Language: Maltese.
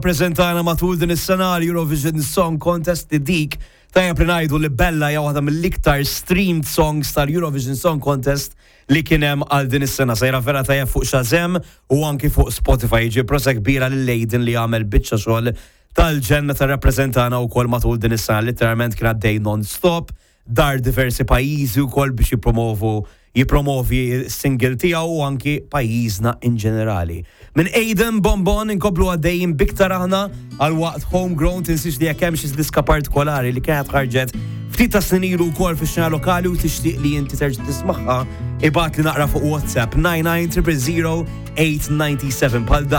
Rappreżentana matul din is-sena għal Eurovision Song Contest li dik tajjeb li ngħidu li Bella hija waħda mill-iktar streamed songs tal-Eurovision Song Contest li kien hemm għal din is-sena. Sejra vera tajjeb fuq Shazam u anki fuq Spotify. Jiġi prosa kbira lil Aiden li għamel biċċa xogħol tal-ġenna tar-rappreżentana wkoll matul din is-sena. Literalment kien għaddej non-stop dar diversi pajjiżi wkoll biex jippromovu jippromovi s-single tiegħu u anki pajjiżna in ġenerali. Minn Aiden Bonbon inkomplu għaddejjin biktar aħna għal waqt Homegrown tinsiex li jekk hemm xi diska partikolari li kienet ħarġet ftit ta' snin ilu wkoll fix-xena lokali u tixtieq li inti terġa' tismagħha ibgħatli naqra fuq WhatsApp 99 000 897 bħal.